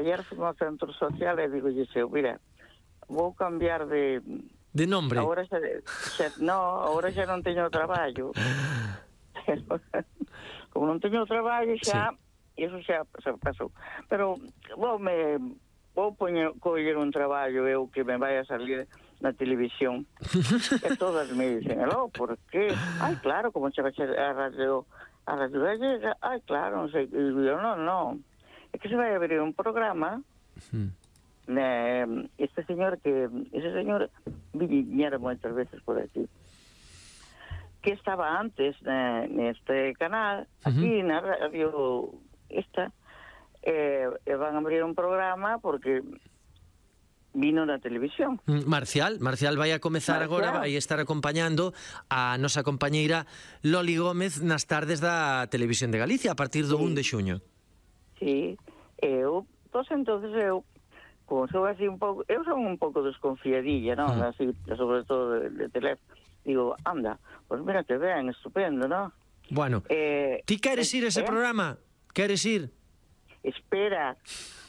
ayer fui ao centro social e digo, mira, vou cambiar de nombre. Agora xa non teño traballo. Como non teño traballo xa, iso xa pasou. Pero vou coller un traballo eu que me vai a salir na televisión. E todas me dicen, por qué? Ai, claro, como che vai a radio gallega? Ai, claro, non sei. E digo, non. É que se vai abrir un programa. Ese señor viñera moitas veces por aquí, que estaba antes neste canal, aquí na radio esta, van a abrir un programa porque vino na televisión. Marcial vai a comezar agora, vai estar acompañando a nosa compañeira Loli Gómez nas tardes da Televisión de Galicia a partir do 1 de xuño. Sí, entonces eu como sou así un pouco, eu son un pouco desconfiadilla, non? Así, sobre todo de teléfono. Digo, anda, pues mira que ben, estupendo, non? Bueno, ti queres ir a ese programa? Queres ir? Espera,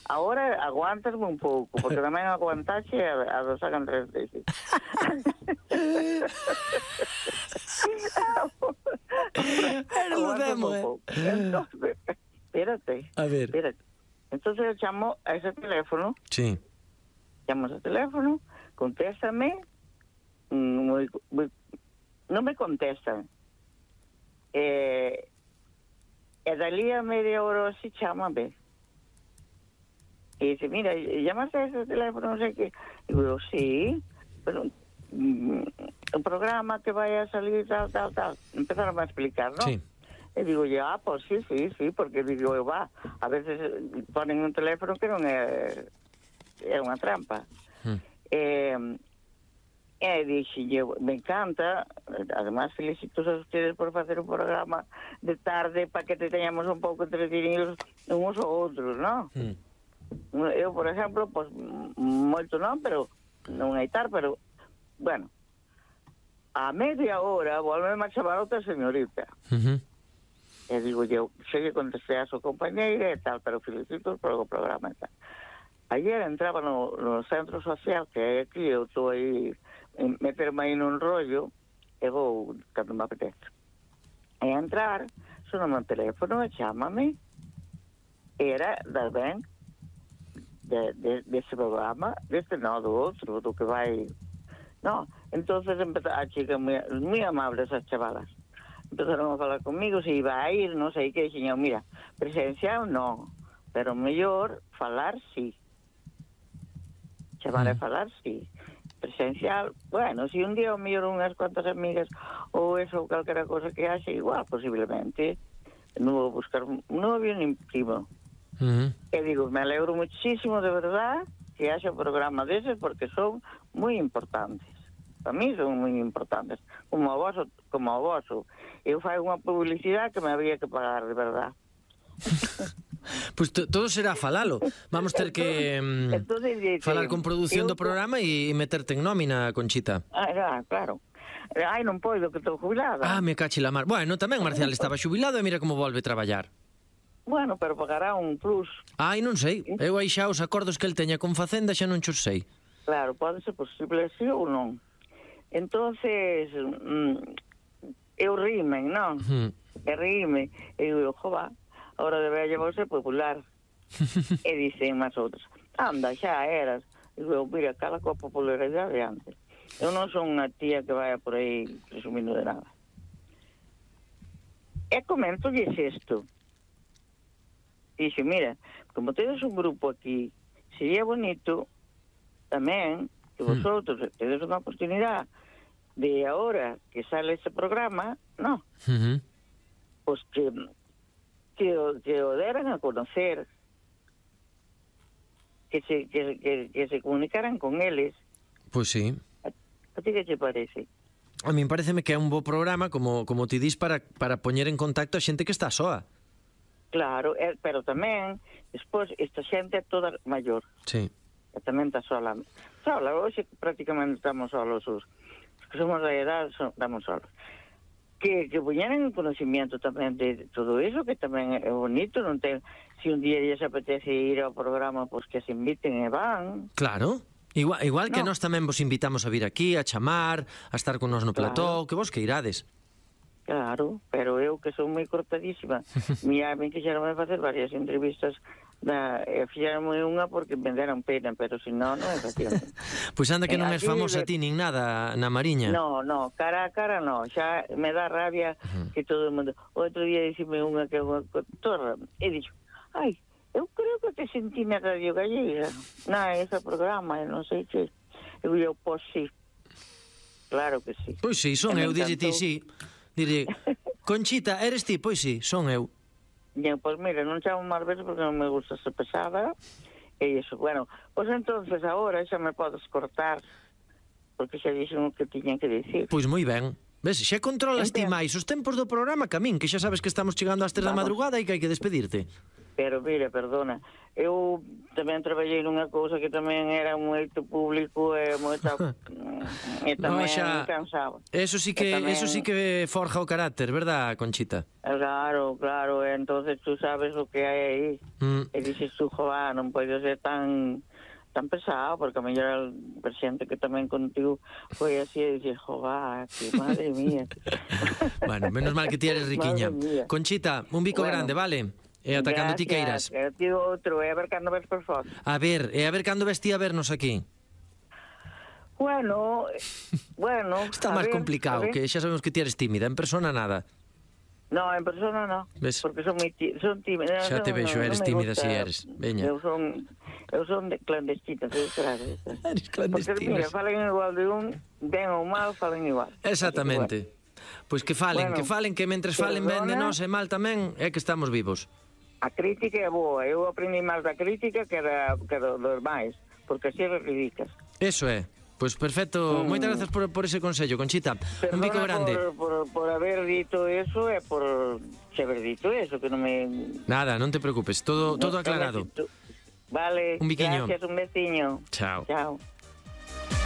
agora aguantasme un pouco, porque tamén aguantaxe a do sacan 3 veces. Entonces, espérate. A ver. Espérate. Entonces eu chamo a ese teléfono. Sí. Chamo a ese teléfono, contéstame, non me contestan. E dali a media hora así chámame. E dice, mira, llamaste a ese teléfono, non sei que. Digo, sí, pero un programa que vai a salir tal. Empezaron a explicar, ¿no? Sí. E digo, pues sí, porque digo, a veces ponen un teléfono que non é unha trampa. E dixen, me encanta, además felicito a ustedes por facer un programa de tarde para que te teñamos un pouco entretenidos uns ou outros, non? Eu, por exemplo, pues moito non, pero non hai tar, pero, bueno, a media hora volveme a chamar outra señorita. E digo, sei que contestei a súa compañeira e tal, pero felicito por o programa e tal. Ayer entraba no centro social que hai aquí, eu estou aí, meterme aí nun rollo, e vou cando me apetece. E entrar, soname o teléfono e chámame, era da ben, desse programa, deste non, do outro, do que vai... No, entonces a chica moi amables as chavalas. Empezaron a falar comigo se iba a ir, non sei que, dixen, mira, presencial non, pero mellor falar sí. Chamar a falar sí. Presencial, bueno, si un día o mellor unhas cuantas amigas ou eso, calquera cosa que haxe, igual, posiblemente, non vou buscar un novio nin primo. E digo, me alegro muchísimo, de verdad, que haxa programa deses, porque son moi importantes. Para mí son moi importantes, como o voso. Eu fai unha publicidade que me había que pagar, de verdad. Pois todo será falalo. Vamos ter que falar con produción do programa e meterte en nómina, Conchita. Claro. Ai, non podo, que estou jubilada. Me cache la mar. Bueno, tamén Marcial estaba xubilado e mira como volve a traballar. Bueno, pero pagará un plus. Ai, non sei. Eu aí xa os acordos que el teña con Facenda xa non xos sei. Claro, pode ser posible así ou non. Entonces, eu rimen, non? E rime. E digo, jova, ahora debe llevarse popular. E dicen máis outros, anda, xa eras. Digo, mira, cala coa popularidade de antes. Eu non son unha tía que vaya por aí presumindo de nada. E comento-lles isto. Dixe, mira, como tedes un grupo aquí, sería bonito tamén que vosotros tedes unha oportunidade de ahora que sale ese programa, no, pues que o deran a conocer, que se comunicaran con eles. Pois sí. A ti que te parece? A min pareceme que é un bo programa, como ti dis, para poñer en contacto a xente que está soa. Claro, pero tamén, despois, esta xente é toda maior. Sí. E tamén está sola. Hoxe prácticamente estamos solos os que somos da edad, estamos solos. que poñeran en conocimiento tamén de todo eso, que tamén é bonito, non ten, se un día lles apetece ir ao programa, pois que se inviten e van. Claro. Igual que nós tamén vos invitamos a vir aquí, a chamar, a estar con nós no plató, que vos que irades. Claro, pero eu que son moi cortadísima. Mira, me quixeronme facer varias entrevistas fixeronme unha porque me deran pena, pero se non é facían. Pois anda que non és famosa ti nin nada na Mariña. No, cara a cara no, xa me dá rabia que todo o mundo. Outro día dicime unha que é unha contorra e dixo, ai, eu creo que te sentí na Radio Gallega, ese programa, non sei que. Eu digo, pois sí, claro que sí. Pois sí, son eu, dixe ti sí. Diré, Conchita, eres ti? Pois sí, son eu. Pois mira, non chamo máis veces porque non me gusta ser pesada. E iso, bueno, pois entonces agora xa me podes cortar, porque xa dixen o que tiñan que dicir. Pois moi ben. Ves, xa controlas ti máis os tempos do programa que a min, que xa sabes que estamos chegando ás 3 da madrugada e que hai que despedirte. Pero mira, perdona, eu tamén traballei nunha cousa que tamén era moito público e moita e tamén cansaba. Eso sí que forja o carácter, verdad, Conchita? Claro, e entonces tú sabes o que hai aí. E dices tú, joa, non pode ser tan pesado, porque a mellor a xente que tamén contigo foi así e dices, joa, que madre mía. Bueno, menos mal que ti eres riquiña. Conchita, un bico grande, vale? E ata cando ti queiras. Eu digo outro, e a ver cando ves por fora. A ver cando ves ti a vernos aquí. Bueno... Está máis complicado, que xa sabemos que ti eres tímida, en persona nada. No, en persona no, porque son tímida. Xa te vexo, eres tímida si eres. Veña. Eu son clandestina, claro. Eres clandestina. Porque, mira, falen igual de un, ben ou mal, falen igual. Exactamente. Pois que falen, que mentres falen ben de nós e mal tamén, é que estamos vivos. A crítica é boa, eu aprendi máis da crítica que dos máis, porque así reivindicas. Eso é. Pois perfecto, moitas grazas por ese consello, Conchita. Un bico grande. Por haber dito eso e por haber dito eso, que non me... Nada, non te preocupes, todo aclarado. Vale, un biquiño. Gracias, un besiño. Chao. Chao.